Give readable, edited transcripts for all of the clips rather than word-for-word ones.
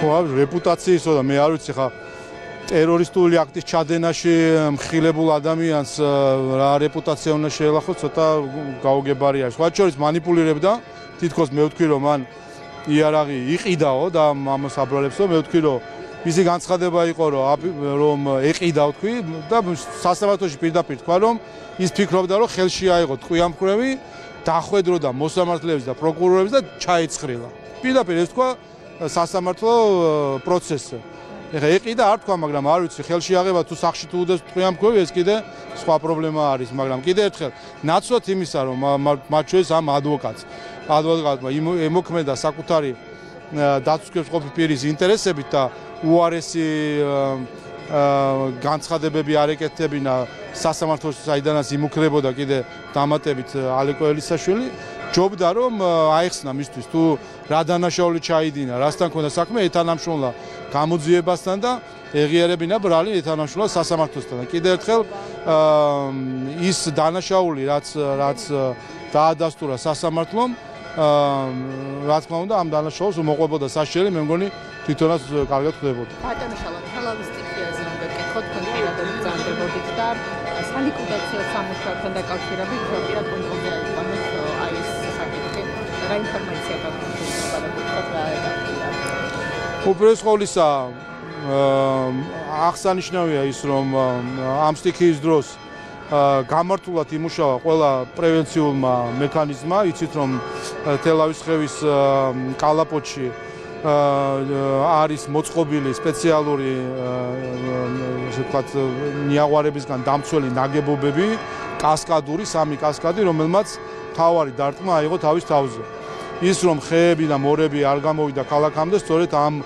რეპუტაციისო და მე არ ვიცი ხა ტერორისტული აქტის ჩადენაში მხილებულ ადამიანს რა რეპუტაცია უნდა შეელახოს, ცოტა გაუგებარი არის. სხვა შორის манипуლირებდა, თითქოს მე ვთქვი რომ მან იარაღი იყიდაო და ამას აბრალებსო, მე ვთქვი რომ მისი განცხადება იყო რომ ეყიდა ვთქვი და სასამართლოში პირდაპირ თქვა რომ ის ფიქრობდა რომ ხელში აიღო ტყვიამფრევი, დახვედროდა მოსამართლეების და პროკურორების და ჩაიცხრილა. პირდაპირ ეს თქვა სასამართლო პროცესზე. ეხლა ეყიდა არ თქვა, მაგრამ არ ვიცი ხელში აღება თუ სახში თუ უდეს ტყვიამფრევი, ეს კიდე სხვა პრობლემა არის, მაგრამ კიდე ერთხელ ნაცვლად იმისა რომ მათ შორის ამ ადვოკატმა ემოქმედა საკუთარი დაცვის ყოფი პირის ინტერესებით და უარესი განცხადებები არ ეკეთებინა სასამართლოში, საიდანაც იმუქრებოდა კიდე დამატებით ალეკო ელისაშვილი, ჯობდა რომ აეხსნა მისთვის თუ რა დანაშაული ჩაიდინა, რასთან ქონდა საქმე, ეთანამშრომლა გამოძიებასთან და ეღიარებინა ბრალი ეთანამშრომლა სასამართლოსთან. კიდე ერთხელ ის დანაშაული რაც დაადასტურა სასამართლომ, რა თქმა უნდა ამ დანაშაულს მოყვებოდა საშიელი, მე მგონი თვითონაც კარგად ხდებოდა. ბატონო შალვა, თელავის სტიქიაზე უნდა გკითხოთ, თქვენ პირადად ბრძანდებოდით და სალიკვიდაციო სამუშაოებთან დაკავშირებით პირად კონტროლზე აიყვანეთ აი ეს საკითხი. რა ინფორმაცია გაგვიქვთ რა ედაფია? უპირველეს ყოვლისა აღსანიშნავია ის რომ ამ სტიქიის დროს გამართულად იმუშავა ყველა პრევენციულმა მექანიზმმა. იცით რომ თელავის ხევის კალაპოტში არის მოწყობილი სპეციალური ასე ვთქვათ ნიაღვარებისგან დამცველი ნაგებობები, კასკადური, 3 კასკადი, რომელმაც თავარი დარტყმა აიღო თავის თავზე. ის რომ ხეები და მორები არ გამოვიდა ქალაქამდე, სწორედ ამ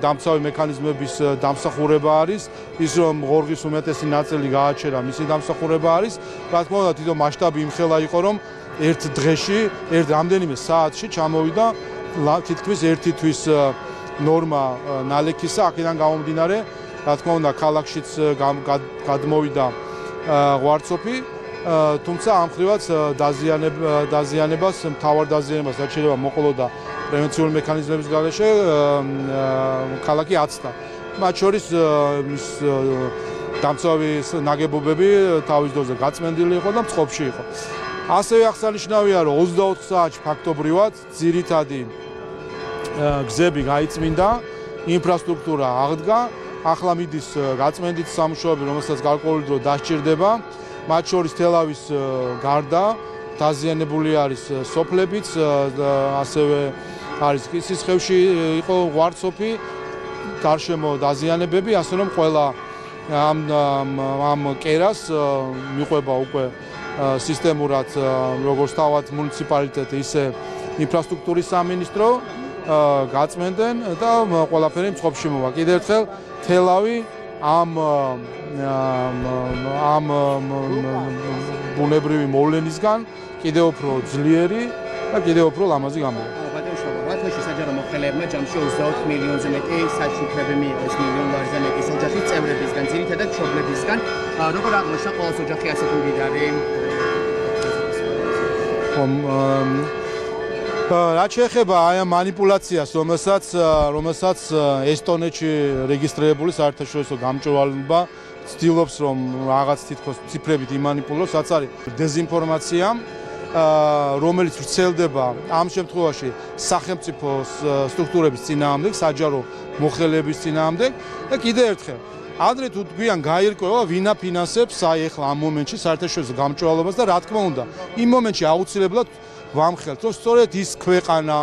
დამცავი მექანიზმების დამსახურება არის, ის რომ ღორღის უმეტესი ნაწილი გააჩერა, მისი დამსახურება არის. რა თქმა უნდა, თვითონ მასშტაბი იმხელა იყო, რომ ერთ დღეში, რამდენიმე საათში ჩამოვიდა თითქმის 1 თვის ნორმა ნალექისა, აქედან გამომდინარე, რა თქმა უნდა, ქალაქშიც გადმოვიდა ღვარცოფი, თუმცა ამ ხრივაც დაზიანებას, მთავარ დაზიანებას რაც შეიძლება მოყოლოდა პრევენციული მექანიზმების გარეშე, ქალაქი აცდა. მათ შორის ის დამცავი ნაგებობები თავის დოზე გაწმენდილი იყო და მწყობში იყო. ასევე აღსანიშნავია, რომ 24 საათში ფაქტობრივად ძირითადი გზები გაიწმინდა, ინფრასტრუქტურა აღდგა, ახლა მიდის გაწმენდით სამუშაოები, რომელსაც გარკვეული დრო დასჭირდება. მათ შორის თელავის გარდა დაზიანებული არის სოფლებიც, ასევე არის კისის ხევში იყო ღვარცოფი, გარშემო დაზიანებები, ასე რომ ყველა ამ კერას მიყვება უკვე სისტემურად როგორც თავად მუნიციპალიტეტი, ისე ინფრასტრუქტურის სამინისტრო გაწმენდნენ და ყველაფერი მწყობში მოვა. კიდევ ერთხელ თელავი ამ ბუნებრივი მოვლენისგან კიდევ უფრო ძლიერი და კიდევ უფრო ლამაზი გამოვა. ბათუმში საჯარო მოხელეებმა ჯამში 24 მილიონზე მეტი საჩუქრები მიიღეს, მილიონ ლარზე მეტი ოჯახის წევრებისგან, ძირითადად მშობლებისგან. როგორ აღმოჩნდა ყოველს ოჯახი ასეთი მდიდარი? რაც შეეხება აი ამ манипуляციას, რომელსაც ესტონეთში რეგისტრირებული საერთაშორისო გამჭვირვალობა ცდილობს რომ რაღაც თითქოს ციფრებით იმანიპულოს, რაც არის დეზინფორმაცია, რომელიც ვრცელდება ამ შემთხვევაში სახელმწიფო სტრუქტურების წინააღმდეგ, საჯარო მოხელეების წინააღმდეგ და კიდევ ერთხელ ადრე თუ გვიან გაირკვევა ვინ აფინანსებს აი ახლა ამ მომენტში საერთაშორისო გამჭვირვალობას და რა თქმა უნდა იმ მომენტში აუცილებლად ვამხელთ რომ სწორედ ის ქვეყანა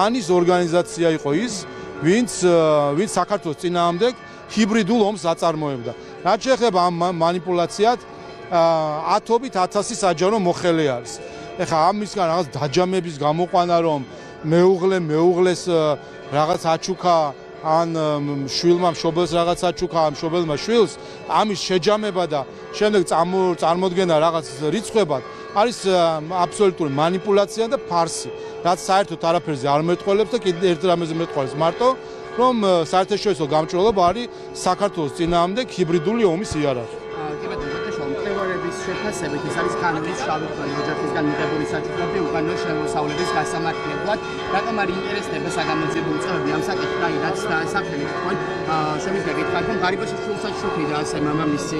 ან ის ორგანიზაცია იყო ის ვინც საქართველოს წინააღმდეგ ჰიბრიდულ ომს აწარმოებდა. რაც შეეხება ამ манипуляციად ათობით 1000 საჯარო მოხელე არის. ეხლა ამისგან რაღაც დაჯამების გამოყვანა რომ მეუღლეს რაღაც აჩუქა ან შვილმა მშობელს რაღაც აჩუქა, მშობელმა შვილს, ამის შეჯამება და შემდეგ წარმოდგენა რაღაც რიცხვებად არის აბსოლუტური манипуляცია და ფარსი, რაც საერთოდ არაფერზე არ მეტყველებს და კიდევ ერთ რამეზე მეტყველებს მარტო, რომ საერთაშორისო გამჭვირვალობა არის საქართველოს წინააღმდეგ ჰიბრიდული ომის იარაღი. კი ბატონო, მკვლევარების შეფასებით ეს არის კანონის შავი ქალი ოჯახისგან მიღებული საჩუქრები უკანონო შემოსავლების გასამართლებლად. რატომ არ ინტერესდება საგამოძიებო უწყებები ამ საკითხთან, რაც დაასახელეთ თქვენ? შემიძლია გითხრათ, რომ ღარიბაში შულსაც შუქიდა ასე მამამისი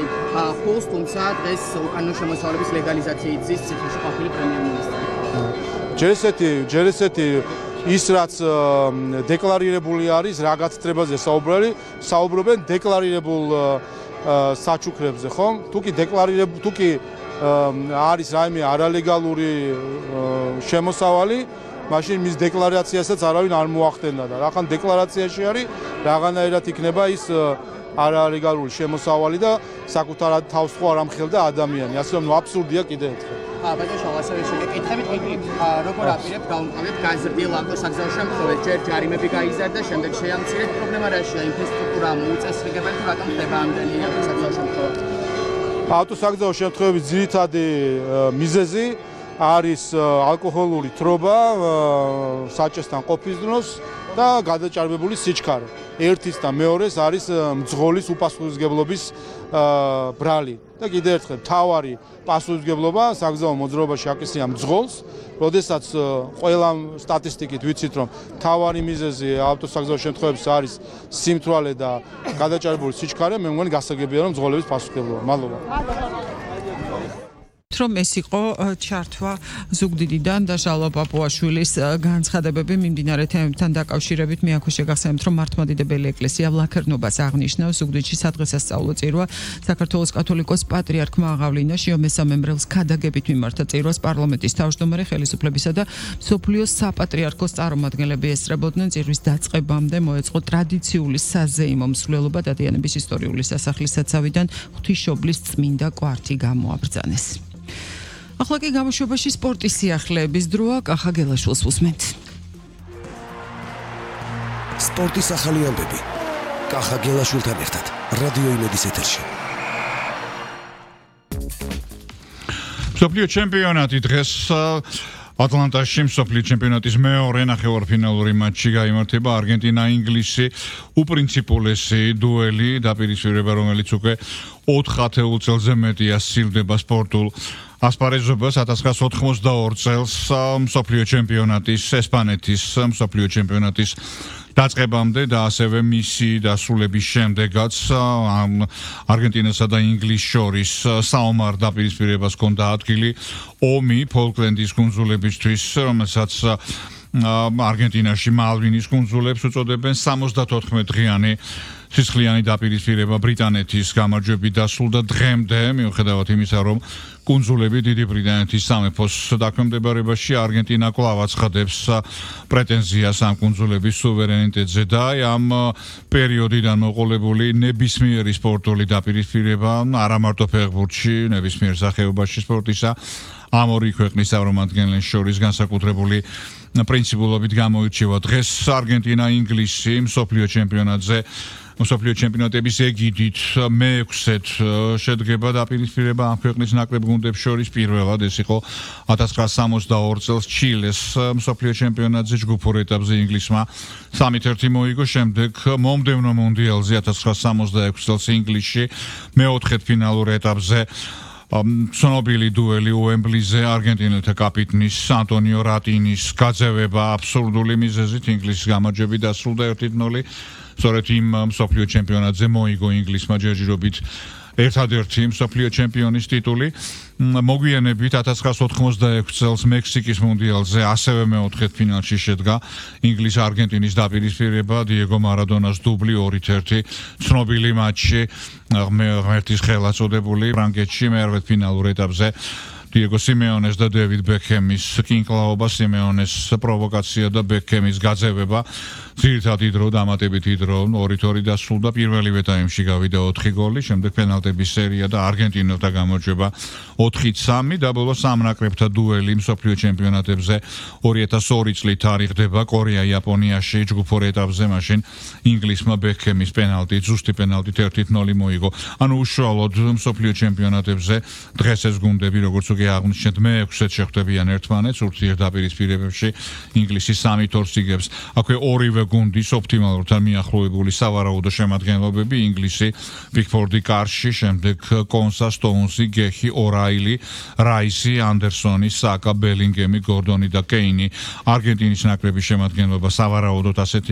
ფულს, თუმცა დღეს უკანონო შემოსავლების ლეგალიზაციით ზის ციხეში ყოფილი პრემიერ-მინისტრი. ჯერ ესეთი ის რაც დეკლარირებული არის, რა გაცდრებაზე საუბრობენ დეკლარირებულ საჩუქრებზე, ხო? თუკი არის რაიმე არალეგალური შემოსავალი, მაშინ მის დეკლარაციასაც არავინ არ მოახდენდა და რახან დეკლარაციაში არის, რაღაცნაირად იქნება ის არალეგალური შემოსავალი და საკუთარ თავს ხო არ ამხელდა ადამიანი. ასე რომ აბსურდია კიდე ერთხელ. ბატონო შალვა ასევე შეგეკითხებით, როგორ აპირებთ გაუმყავებთ გაზრდილ ავტოსაგზაო შემთხვევებს, ჯერ ჯარიმები გაიზარდა, შემდეგ შეამცირეთ, პრობლემა რაშია, ინფრასტრუქტურა მოუწესრიგებელი თუ რატომ ხდება ამდენი ავტოსაგზაო შემთხვევა? ავტოსაგზაო შემთხვევების ძირითადი მიზეზი არის ალკოჰოლური თრობა საჭესთან ყოფის დროს და გადაჭარბებული სიჩქარე. ერთის და მეორეს არის მძღოლის უპასუხისმგებლობის ბრალი. და კიდევ ერთხელ თავარი პასუხისმგებლობა საგზაო მოძრაობაში აკისრია მძღოლს, როდესაც ყველა სტატისტიკით ვიცით, რომ თავარი მიზეზი ავტოსაგზაო შემთხვევებში არის სიმთვრალე და გადაჭარბებული სიჩქარე, მე მგონი გასაგებია, რომ მძღოლების პასუხისმგებლობა. მადლობა. რომ ეს იყო ჩართვა ზუგდიდიდან და ჟალვა პაპუაშვილის განცხადებები მიმდინარე თემებთან დაკავშირებით. მე აქვე შეგახსენებთ, რომ მართლმადიდებელი ეკლესია ვლაქერნობას აღნიშნავს ზუგდიდში სადღესასწაულო წირვა საქართველოს კათოლიკოს პატრიარქმა აღავლინა მესამემბრელს ქადაგებით მიმართა წირვას პარლამენტის თავმჯდომარე ხელისუფლებისა და მსოფლიოს საპატრიარქოს წარმომადგენლები ესწრებოდნენ. წირვის დაწყებამდე მოეწყო ტრადიციული საზეიმო მსვლელობა დადიანების ისტორიული სასახლის საცავიდან ღვთისმშობლის წმინდა კვართი გამოაბრძანეს. ახლა კი გამოშვებაში სპორტის სიახლეების დროა. კახა გელაშვილს უსმენთ. სპორტის ახალი ამბები. კახა გელაშვილთან ერთად რადიო იმედის ეთერში. მსოფლიო ჩემპიონატი დღეს ატლანტაში მსოფლიო ჩემპიონატის მეორე ნახევარფინალური მატჩი გაიმართება. არგენტინა-ინგლისი უპრინციპულესი დუელი დაპირისპირება, რომელიც უკვე 4 ათეულ წელზე მეტია სცილდება სპორტულ ასპარეზობას. 1992 წელს მსოფლიო ჩემპიონატის ესპანეთის მსოფლიო ჩემპიონატის დაწყებამდე და ასევე მისი დასრულების შემდეგაც არგენტინასა და ინგლისს შორის საომარ დაპირისპირებას ჰქონდა ადგილი ომი ფოლკლენდის კუნძულებისთვის, რომელსაც არგენტინაში მალვინის კუნძულებს უწოდებენ. 74 დღიანი სისხლიანი დაპირისპირება ბრიტანეთის გამარჯვებით დასრულდა დღემდე, მიუხედავად იმისა, რომ კუნძულები დიდი ბრიტანეთის სამეფოს დაქვემდებარებაში, არგენტინა კვლავ აცხადებს პრეტენზიას ამ კუნძულების სუვერენიტეტზე და ამ პერიოდიდან მოყოლებული ნებისმიერი სპორტული დაპირისპირება არა მარტო ფეხბურთში, ნებისმიერ სახეობაში სპორტისა ამ ორი ქვეყნის წარმომადგენლებს შორის განსაკუთრებული პრინციპულობით გამოირჩევა. დღეს არგენტინა-ინგლისი მსოფლიო ჩემპიონატზე მსოფლიო ჩემპიონატების ეგიდით მე-6-ეთ შედგება დაპირისპირება ამ ქვეყნის ნაკრებ გუნდებს შორის. პირველად ეს იყო 1962 წელს ჩილეს მსოფლიო ჩემპიონატზე ჯგუფურ ეტაპზე ინგლისმა 3-1 მოიგო. შემდეგ მომდევნო მუნდიალზე 1966 წელს ინგლისში მე-4 ფინალურ ეტაპზე ცნობილი დუელი უემბლიზე არგენტინელთა კაპიტნის ანტონიო რატინის გაძევება აბსურდული მიზეზით ინგლისის გამარჯვებით დასრულდა 1-0. სწორედ იმ მსოფლიო ჩემპიონატზე მოიგო ინგლისმა ჯერჯერობით ერთადერთი მსოფლიო ჩემპიონის ტიტული. მოგვიანებით 1986 წელს მექსიკის მუნდიალზე ასევე მე-4 ფინალში შედგა ინგლის-არგენტინის დაპირისპირება, დიეგო მარადონას დუბლი 2-1 ცნობილი მატჩი ღმერთის ხელა წოდებული ფრანგეთში მე-8 ფინალურ ეტაპზე. დიეგო სიმეონეს და დევიდ ბექემის კინკლაობა, სიმეონეს პროვოკაცია და ბექემის გაძევება. ძირითადი დრო, დამატებითი დრო 2-2 დასრულდა. პირველივე ტაიმში გავიდა 4 გოლი, შემდეგ პენალტების სერია და არგენტინელთა გამარჯვება 4-3 და ბოლოს ამ ნაკრებთა დუელი მსოფლიო ჩემპიონატებზე 2002 წლით თარიღდება კორეა-იაპონიაში ჯგუფურ ეტაპზე, მაშინ ინგლისმა ბექემის პენალტი, ზუსტი პენალტით 1-0 მოიგო. ანუ უშუალოდ მსოფლიო ჩემპიონატებზე დღეს ეს გუნდები, როგორც კი აღნიშნეთ, მე-6-ად შეხვდებიან ერთმანეთს ურთიერთდაპირისპირებებში. ინგლისი 3-2 იგებს. აქვე ორივე გუნდის ოპტიმალურად მიახლოებული სავარაუდო შემადგენლობები. ინგლისი პიკფორდი კარში, შემდეგ კონსა, სტოუნსი, გეხი, ორაილი, რაისი, ანდერსონი, საკა, ბელინგემი, გორდონი და კეინი. არგენტინის ნაკრების შემადგენლობა სავარაუდოდ ასეთი